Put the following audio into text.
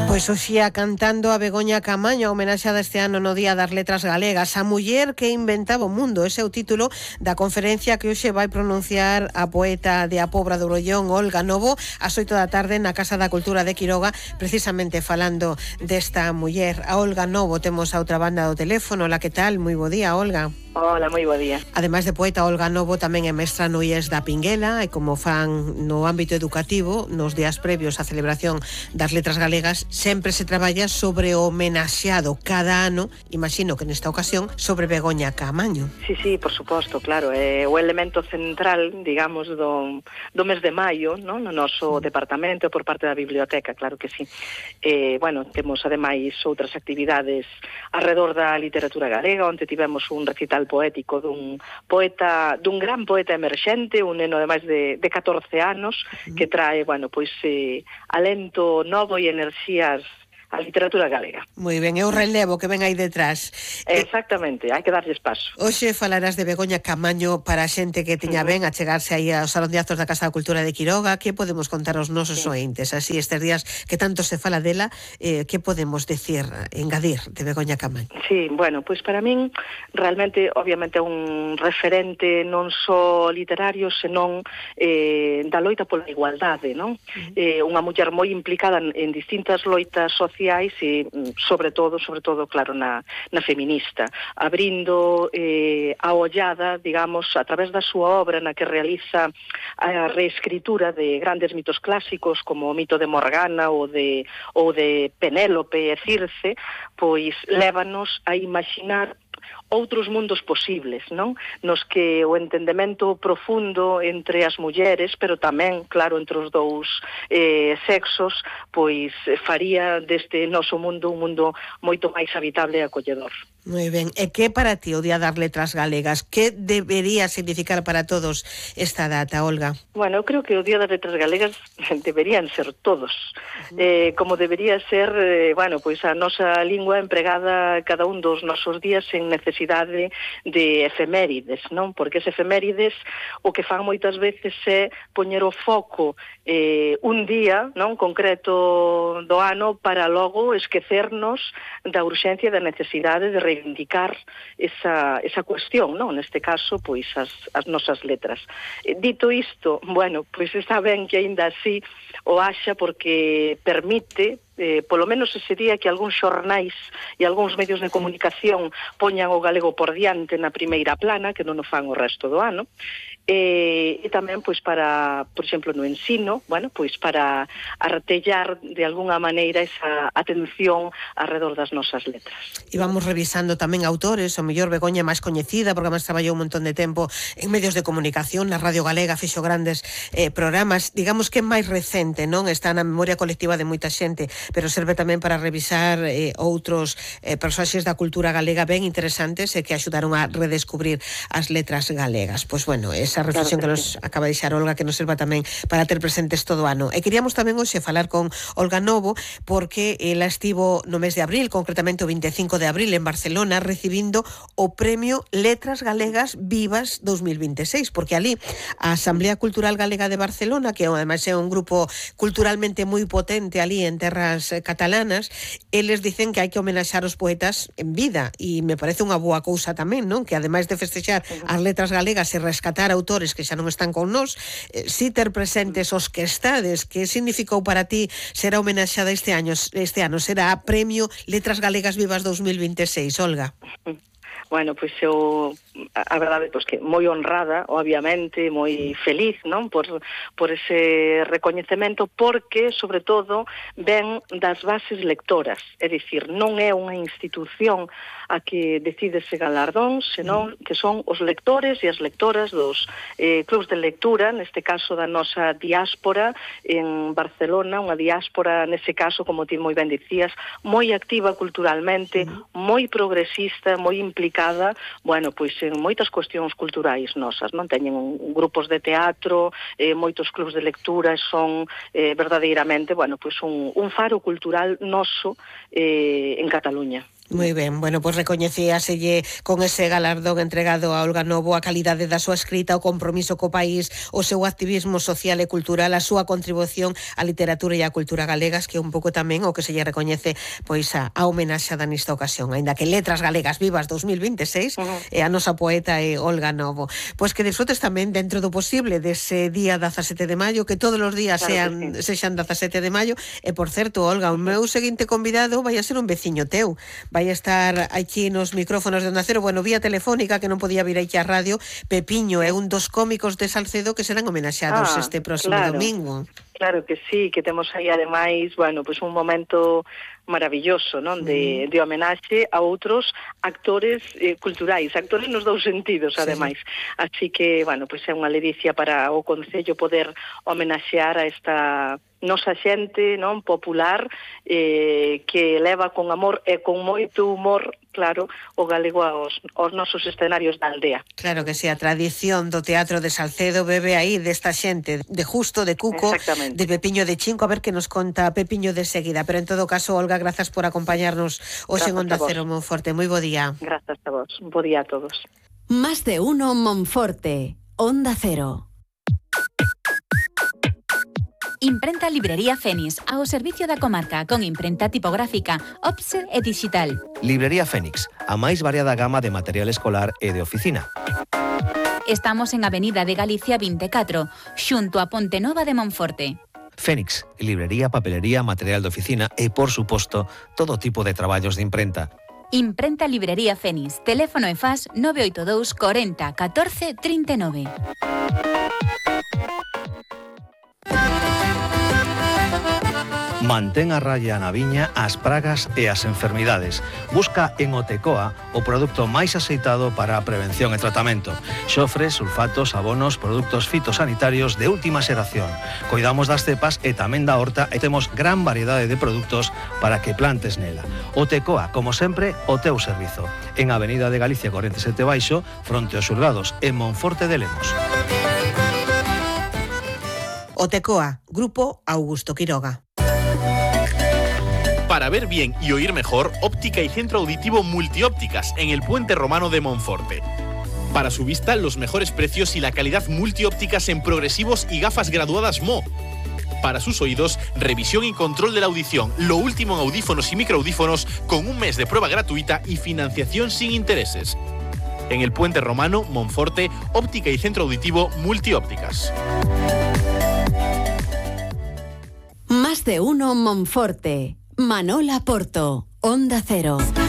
Pois hoxía cantando a Begoña Camaño, homenaxeada este ano no Día das Letras Galegas, a muller que inventaba o mundo. Ese é o título da conferencia que hoxe vai pronunciar a poeta de A Pobra do Brollón, Olga Novo, ás 8 da tarde na Casa da Cultura de Quiroga, precisamente falando desta muller. A Olga Novo temos a outra banda do teléfono. Ola, que tal? Moi bo día, Olga. Hola, moi bo día. Ademais de poeta, Olga Novo tamén é mestra no IES da Pinguela, e como fan no ámbito educativo, nos días previos á celebración das Letras Galegas, sempre se traballa sobre o homenaxeado cada ano, imagino que nesta ocasión, sobre Begoña Camaño. Sí, por suposto, claro, é o elemento central, digamos, do mes de maio, no noso departamento, por parte da biblioteca, claro que sí. Bueno, temos ademais outras actividades alrededor da literatura galega, onde tivemos un recital poético dun gran poeta emerxente, un neno de máis de 14 anos, que trae, bueno, pois alento novo e enerxías a literatura galega. Moi ben, é o relevo que ven aí detrás. Exactamente, hai que darlles paso. Hoxe falarás de Begoña Camaño para a xente que tiña ben a chegarse aí ao Salón de Actos da Casa da Cultura de Quiroga. Que podemos contar aos nosos ointes? Así, estes días que tanto se fala dela, que podemos decir, engadir de Begoña Camaño? Sí, bueno, pois para min realmente, obviamente, é un referente non só literario, senón da loita pola igualdade, non? Unha muller moi implicada en distintas loitas sociais e, sobre todo, claro, na feminista, abrindo a ollada, digamos, a través da súa obra na que realiza a reescritura de grandes mitos clásicos como o mito de Morgana ou de Penélope e Circe, pois lévanos a imaginar outros mundos posibles, non? Nos que o entendemento profundo entre as mulleres, pero tamén, claro, entre os dous sexos, pois faría deste noso mundo un mundo moito máis habitable e acolledor. Moi ben, e que para ti o Día das Letras Galegas? Que debería significar para todos esta data, Olga? Bueno, eu creo que o Día das Letras Galegas deberían ser todos, como debería ser, bueno, pois a nosa lingua empregada cada un dos nosos días en necesidade de efemérides, non? Porque as efemérides o que fan moitas veces é poñer o foco un día, non, concreto do ano para logo esquecernos da urxencia e da necesidade de reivindicar esa cuestión, non? Neste caso, pois as nosas letras. Dito isto, bueno, pois está ben que aínda así o haxa porque permite polo menos ese día que algúns xornais e algúns medios de comunicación poñan o galego por diante na primeira plana, que non o fan o resto do ano, e tamén pois para, por exemplo, no ensino, bueno, pois para artellar de algunha maneira esa atención alrededor das nosas letras. E vamos revisando tamén autores, o mellor Begoña máis coñecida, porque máis traballou un montón de tempo en medios de comunicación, na Radio Galega fixo grandes programas, digamos que é máis recente, non? Está na memoria colectiva de moita xente, pero serve tamén para revisar outros personaxes da cultura galega ben interesantes e que axudaron a redescubrir as letras galegas. Pois bueno, esa reflexión que nos acaba de deixar Olga, que nos serva tamén para ter presentes todo o ano. E queríamos tamén hoxe falar con Olga Novo, porque ela estivo no mes de abril, concretamente o 25 de abril en Barcelona, recibindo o premio Letras Galegas Vivas 2026, porque ali a Asamblea Cultural Galega de Barcelona, que ademais é un grupo culturalmente moi potente ali en terras catalanas, eles dicen que hai que homenaxar os poetas en vida, e me parece unha boa cousa tamén, non? Que ademais de festexar as letras galegas e rescatar autores que xa non están con nós, si ter presentes os que estades. Que significou para ti ser homenaxada este ano? Será Premio Letras Galegas Vivas 2026, Olga? Bueno, pois eu, a verdade, pois que moi honrada, obviamente, moi feliz, non? Por ese recoñecemento, porque, sobre todo, ven das bases lectoras, é dicir, non é unha institución a que decide ese galardón, senón que son os lectores e as lectoras dos clubs de lectura, neste caso da nosa diáspora en Barcelona, unha diáspora, nese caso, como ti moi ben dicías, moi activa culturalmente, moi progresista, moi implicada, bueno, pois en moitas cuestións culturais nosas, non? Teñen grupos de teatro, moitos clubs de lectura, son verdadeiramente, bueno, pois un faro cultural noso en Cataluña. Moi ben, bueno, pois recoñecíaselle con ese galardón entregado a Olga Novo a calidade da súa escrita, o compromiso co país, o seu activismo social e cultural, a súa contribución á literatura e á cultura galegas, que é un pouco tamén o que se lle recoñece pois a homenaxada nesta ocasión, aínda que Letras Galegas Vivas 2026 e a nosa poeta é Olga Novo. Pois que disfrutes tamén dentro do posible dese día 17 de maio, que todos os días sexan 17 de maio, e por certo, Olga, o meu seguinte convidado vai a ser un veciño teu. Vai a estar aquí nos micrófonos de Onda Cero, bueno, vía telefónica, que non podía vir aquí á radio. Pepiño é un dos cómicos de Salcedo que serán homenaxados este próximo domingo. Claro que sí, que temos aí ademais, bueno, pois un momento maravilloso, non, de homenaxe a outros actores culturais, actores nos dous sentidos, ademais. Así que, bueno, pois é unha ledicia para o Concello poder homenaxear a esta nosa xente, non, popular, que leva con amor e con moito humor, claro, o galego aos nosos escenarios da aldea. Claro que sí, a tradición do teatro de Salcedo bebe aí desta xente, de Justo, de Cuco, de Pepiño de Chinco, a ver que nos conta Pepiño de seguida, pero en todo caso, Olga, grazas por acompañarnos hoxe en Onda Cero Monforte. Moi bo día. Grazas a vos, bo día a todos. Más de uno Monforte, Onda Cero. Imprenta Librería Fénix, ao servicio da comarca, con imprenta tipográfica, offset e digital. Librería Fénix, a máis variada gama de material escolar e de oficina. Estamos en Avenida de Galicia 24, xunto a Ponte Nova de Monforte. Fénix, librería, papelería, material de oficina e, por suposto, todo tipo de traballos de imprenta. Imprenta Librería Fénix, teléfono e faz 982 40 14 39. Mantén a raya na viña as pragas e as enfermidades. Busca en Otecoa o produto máis aceitado para a prevención e tratamento. Xofre, sulfatos, abonos, produtos fitosanitarios de última xeración. Coidamos das cepas e tamén da horta e temos gran variedade de produtos para que plantes nela. Otecoa, como sempre, o teu servizo. En Avenida de Galicia 47 Baixo, fronte aos xulgados, en Monforte de Lemos. Otecoa, Grupo Augusto Quiroga. Para ver bien y oír mejor, óptica y centro auditivo Multiópticas en el Puente Romano de Monforte. Para su vista, los mejores precios y la calidad multiópticas en progresivos y gafas graduadas MO. Para sus oídos, revisión y control de la audición, lo último en audífonos y microaudífonos, con un mes de prueba gratuita y financiación sin intereses. En el Puente Romano, Monforte, óptica y centro auditivo Multiópticas. Más de uno Monforte. Manola Porto, Onda Cero.